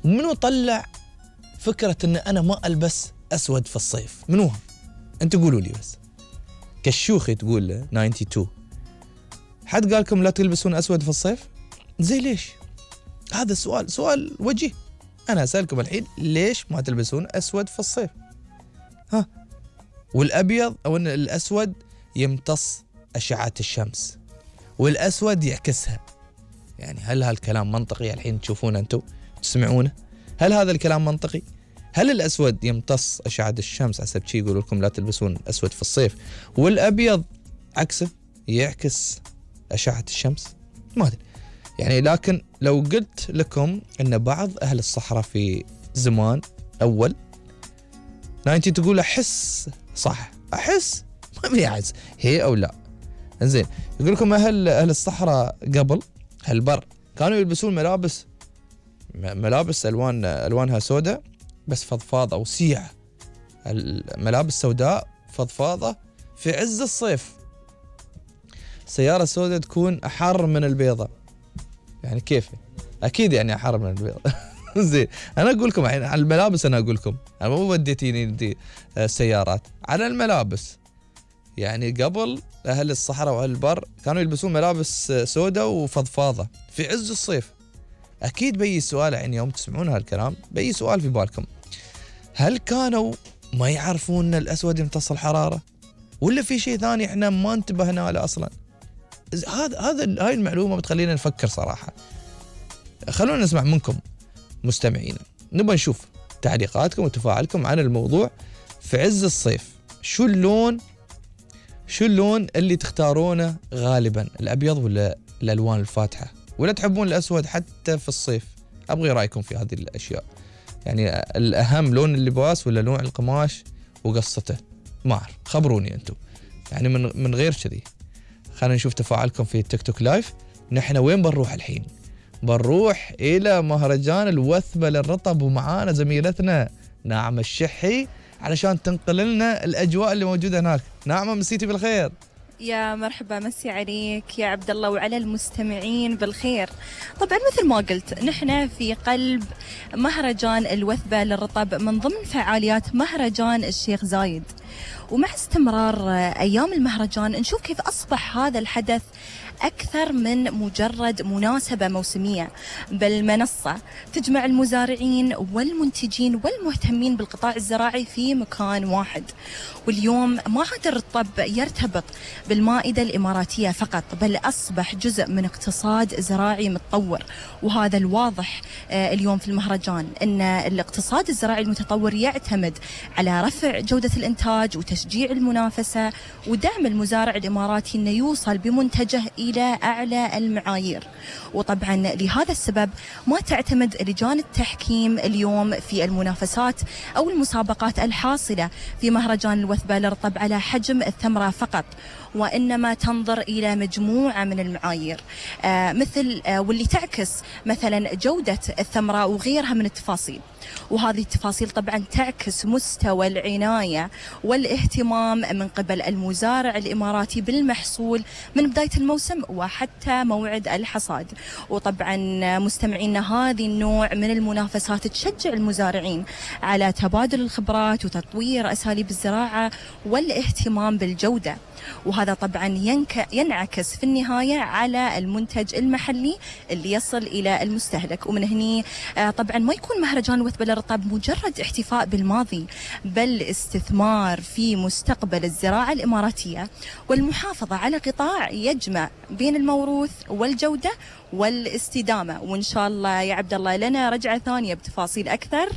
منو طلع فكرة إن أنا ما ألبس أسود في الصيف؟ منوها؟ أنت قولوا لي بس. كشوخي تقول 92 حد قالكم لا تلبسون أسود في الصيف؟ زي ليش؟ هذا سؤال وجيه. أنا أسألكم الحين ليش ما تلبسون أسود في الصيف؟ ها؟ والأبيض أو إن الأسود يمتص أشعة الشمس والأسود يعكسها. يعني هل هالكلام منطقي الحين تشوفونه أنتم تسمعونه؟ هل هذا الكلام منطقي؟ هل الأسود يمتص أشعة الشمس حسب شيء يقولوا لكم لا تلبسون أسود في الصيف والأبيض عكسه يعكس أشعة الشمس؟ ما أدري يعني. لكن لو قلت لكم أن بعض أهل الصحراء في زمان أول 90 تقول أحس صح، أحس ما بيعز هي أو لا. إنزين يقول لكم أهل الصحراء قبل هالبر كانوا يلبسون ملابس ألوانها سوداء بس فضفاضة وسيعة، الملابس سوداء فضفاضة في عز الصيف. سيارة سوداء تكون أحر من البيضة، يعني كيف؟ أكيد يعني أحر من البيضة. زين أنا أقول لكم الحين على الملابس، أنا أقول لكم أنا مو وديتيني أنتي السيارات، على الملابس. يعني قبل أهل الصحراء وأهل البر كانوا يلبسون ملابس سوداء وفضفاضة في عز الصيف. أكيد بي سؤال الحين يوم تسمعون هالكلام بي سؤال في بالكم، هل كانوا ما يعرفون أن الأسود يمتص الحرارة ولا في شيء ثاني إحنا ما انتبهنا له أصلا؟ هاي المعلومة بتخلينا نفكر صراحة. خلونا نسمع منكم مستمعينا، نبغى نشوف تعليقاتكم وتفاعلكم عن الموضوع. في عز الصيف شو اللون اللي تختارونه غالبا، الأبيض ولا الألوان الفاتحة، ولا تحبون الأسود حتى في الصيف؟ أبغي رأيكم في هذه الأشياء. يعني الأهم لون اللباس ولا نوع القماش وقصته؟ ما أعرف، خبروني أنتم يعني من غير كذي. خلينا نشوف تفاعلكم في التيك توك لايف. نحن وين بنروح الحين؟ بنروح إلى مهرجان الوثبة للرطب ومعانا زميلتنا ناعمة الشحي علشان تنقل لنا الأجواء اللي موجودة هناك. ناعمة مسيتي بالخير. يا مرحبا، مسي عليك يا عبد الله وعلى المستمعين بالخير. طبعا مثل ما قلت نحن في قلب مهرجان الوثبة للرطب من ضمن فعاليات مهرجان الشيخ زايد، ومع استمرار أيام المهرجان نشوف كيف أصبح هذا الحدث أكثر من مجرد مناسبة موسمية، بل منصة تجمع المزارعين والمنتجين والمهتمين بالقطاع الزراعي في مكان واحد. واليوم ما عاد الرطب يرتبط بالمائدة الإماراتية فقط، بل أصبح جزء من اقتصاد زراعي متطور. وهذا الواضح اليوم في المهرجان، أن الاقتصاد الزراعي المتطور يعتمد على رفع جودة الإنتاج وتشجيع المنافسة ودعم المزارع الإماراتي أنه يوصل بمنتجه إلى أعلى المعايير. وطبعا لهذا السبب ما تعتمد لجان التحكيم اليوم في المنافسات أو المسابقات الحاصلة في مهرجان الوثبة للرطب على حجم الثمرة فقط، وإنما تنظر إلى مجموعة من المعايير مثل واللي تعكس مثلا جودة الثمرة وغيرها من التفاصيل. وهذه التفاصيل طبعا تعكس مستوى العناية والاهتمام من قبل المزارع الإماراتي بالمحصول من بداية الموسم وحتى موعد الحصاد. وطبعا مستمعينا هذه النوع من المنافسات تشجع المزارعين على تبادل الخبرات وتطوير أساليب الزراعة والاهتمام بالجودة، وهذا طبعا ينعكس في النهاية على المنتج المحلي اللي يصل إلى المستهلك. ومن هني طبعا ما يكون مهرجان وثبة للرطب مجرد احتفاء بالماضي، بل استثمار في مستقبل الزراعة الإماراتية والمحافظة على قطاع يجمع بين الموروث والجودة والاستدامة. وإن شاء الله يا عبد الله لنا رجعة ثانية بتفاصيل أكثر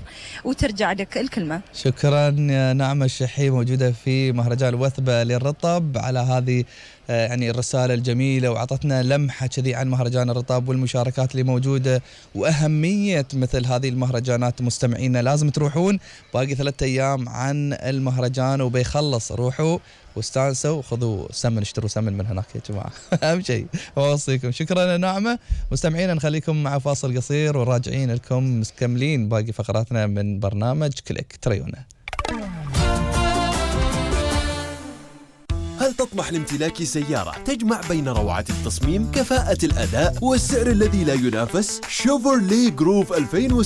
وترجع لك الكلمة. شكرا يا ناعمة الشحي موجودة في مهرجان الوثبة للرطب على هذه يعني الرسالة الجميلة، وعطتنا لمحة كذي عن مهرجان الرطب والمشاركات اللي موجودة وأهمية مثل هذه المهرجانات. مستمعينا لازم تروحون، باقي 3 أيام عن المهرجان وبيخلص، روحوا واستانسوا وخذوا سمن، اشتروا سمن من هناك يا جماعة. أهم شيء أوصيكم. شكرا يا ناعمة. مستمعينا نخليكم مع فاصل قصير وراجعين لكم مكملين باقي فقراتنا من برنامج كليك تريونا. هل تطمح لامتلاك سيارة تجمع بين روعة التصميم، كفاءة الأداء والسعر الذي لا ينافس؟ شيفروليه جروف 2006